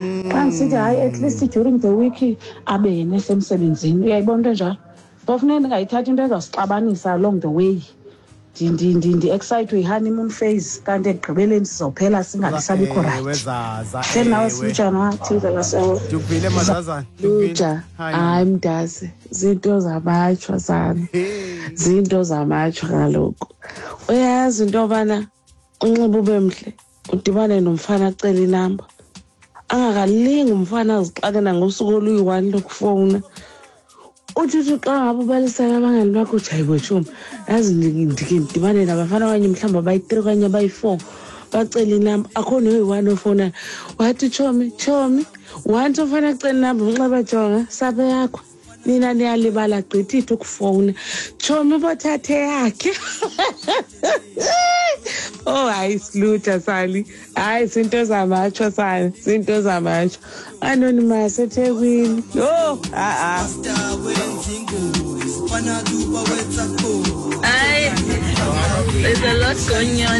Xa ndisithi hayi, at least during the week abe yena esemsebenzini, uyayibona into enjalo. So funeka ndingayithathi into ezawusixabanisa along the way, ndi-excitwe yi-honeymoon phase, kanti ekugqibeleni sizophela singabi sabikho. Ewe, right. Zaza. Hleli nawe. Ewe. Silutshana thizelasewe. Ndikuvile, mazazana, ndikuvile. Luja. Hayi. Hayi mntase, zinto zamatshwa sana. Hey. Zinto zamatshwa kaloku. Uyayazi into yobana unxiba ube mhle, udibane nomfana acele inamba, angakalingi umfana azixake nangosuku oluyi-one lokufowuna. Uthi xa ngabe ubalisela abangani bakho, uthi hayi botshomi, yazi ndike ndidibane nabafana okanye mhlawumbi abayi-3 okanye abayi-4, bacela inamba, akho noyi-one ofowunayo. Wathi tshomi, tshomi, once umfana acela inamba, umnxeba, jonga sapho yakho, nina niyalibala gqithithi ukufowuna. Tshomi, bothathe yakhe. Oh hayi, silutha sali, hayi zinto zamatsho sali, zinto zamatsho. Anonymous eThekwini. Yho, a-a. Aye, there's a lot going on.